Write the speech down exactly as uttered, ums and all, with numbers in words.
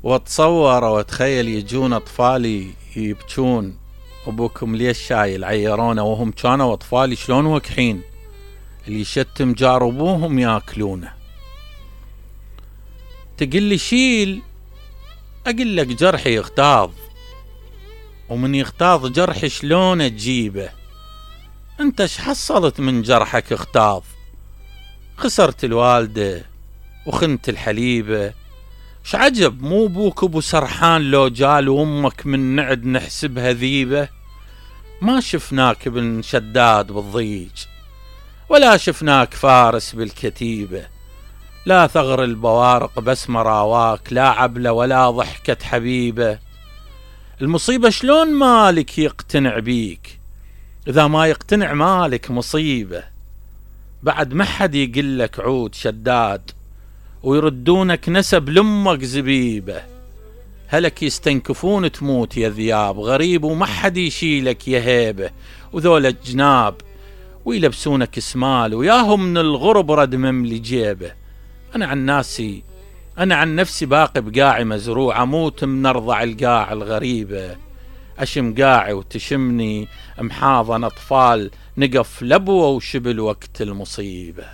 واتصور واتخيل يجون اطفالي يبكون، ابوكم ليش شايل؟ عيرونه وهم كانوا اطفالي شلون وكحين، اللي يشتم جار ابوهم ياكلونه. تقل لي شيل، اقول لك جرحي يغتاظ، ومن يغتاظ جرح شلون تجيبه؟ انت ايش حصلت من جرحك اغتاظ؟ خسرت الوالدة وخنت الحليبة، شعجب مو بوك ابو سرحان لو جال وامك من نعد نحسبها ذيبة؟ ما شفناك ابن شداد بالضيج، ولا شفناك فارس بالكتيبة، لا ثغر البوارق بس مراواك، لا عبلة ولا ضحكة حبيبة. المصيبة شلون مالك يقتنع بيك؟ إذا ما يقتنع مالك مصيبة. بعد ما حد يقلك عود شداد، ويردونك نسب لأمك زبيبة. هلك يستنكفون تموت يا ذياب، غريب وما حد يشيلك يا هيبة. وذول الجناب ويلبسونك اسمال، وياهم من الغرب رد مملي جيبه. أنا عن ناسي أنا عن نفسي باقي بقاعي مزروع، أموت من أرضع القاع الغريبة. أشم قاعي وتشمني محاضن أطفال، نقف لبوة وشبل وقت المصيبة.